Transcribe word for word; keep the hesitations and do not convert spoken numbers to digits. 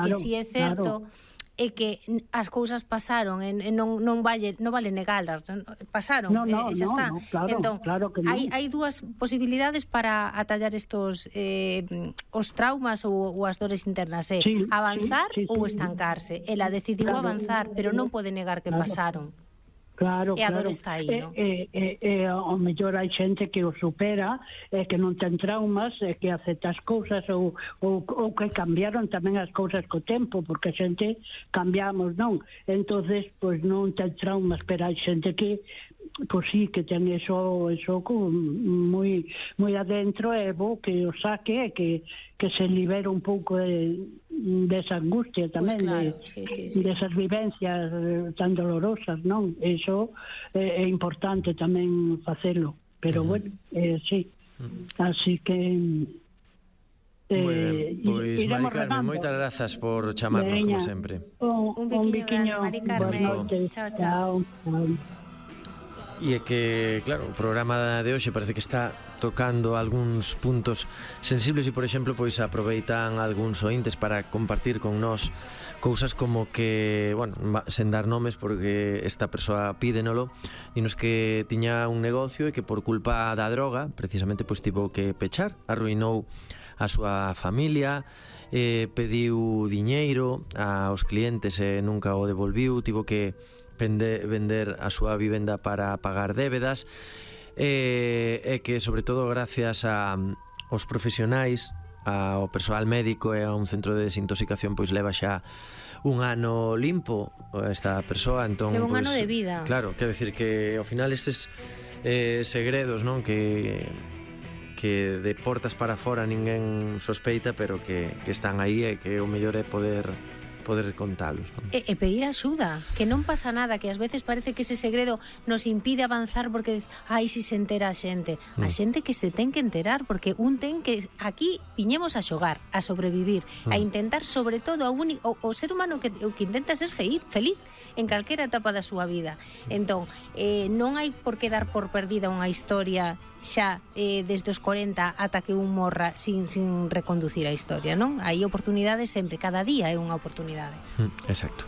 que si é certo é que as cousas pasaron e non non vale non vale negalas, pasaron, no, no, e xa no, está. No, claro, entón, claro que non. hai hai dúas posibilidades para atallar estos eh, os traumas ou, ou as dores internas, é sí, avanzar sí, sí, ou sí. estancarse. Ela decidiu Claro. avanzar, pero non pode negar que Claro. pasaron. Claro, E a claro. dor está aí, e, non? E, e, e ao mellor hai xente que o supera, e que non ten traumas, e que acepta as cousas, ou, ou, ou que cambiaron tamén as cousas co tempo, porque a xente cambiamos, non? Entonces, pois non ten traumas, pero hai xente que pois sí, que ten eso, eso moi moi adentro, e bo que o saque, e que, que se libera un pouco de, desa angustia tamén, pues claro, de, sí, sí, sí. desas vivencias tan dolorosas, non? Eso é, é importante tamén facelo, pero uh-huh. bueno, eh, sí, uh-huh. así que Eh, moi ben, pois Mari Carmen, moitas grazas por chamarnos. Veña, como sempre. Un, un biquiño, un grande, Mari Carmen. Chao, chao. chao. E é que, claro, o programa de hoxe parece que está tocando algúns puntos sensibles e, por exemplo, pois aproveitan algúns ointes para compartir con nós cousas como que, bueno, sen dar nomes porque esta persoa pídenolo, dinos que tiña un negocio e que por culpa da droga precisamente pois tivo que pechar, arruinou a súa familia, eh, pediu diñeiro aos clientes e nunca o devolviu, tivo que Vender, vender a súa vivenda para pagar débedas, e, e que sobre todo gracias a, aos profesionais, ao persoal médico e a un centro de desintoxicación, pois leva xa un ano limpo esta persoa. Entón, leva un pois, ano de vida. Claro, quero decir que ao final estes eh, segredos, non, que que de portas para fora ninguén sospeita, pero que, que están aí, e que o mellor é poder poder contalos, non? E, e pedir axuda, que non pasa nada, que ás veces parece que ese segredo nos impide avanzar porque, ai, si se entera a xente. A xente que se ten que enterar, porque un ten que, aquí viñemos a xogar, a sobrevivir, a intentar, sobre todo, a un, o, o ser humano que, o que intenta ser feliz, feliz en calquera etapa da súa vida. Entón, eh, non hai por que dar por perdida unha historia xa eh, desde os corenta ata que un morra sin, sin reconducir a historia, non? Hai oportunidades sempre, cada día é unha oportunidade. Exacto.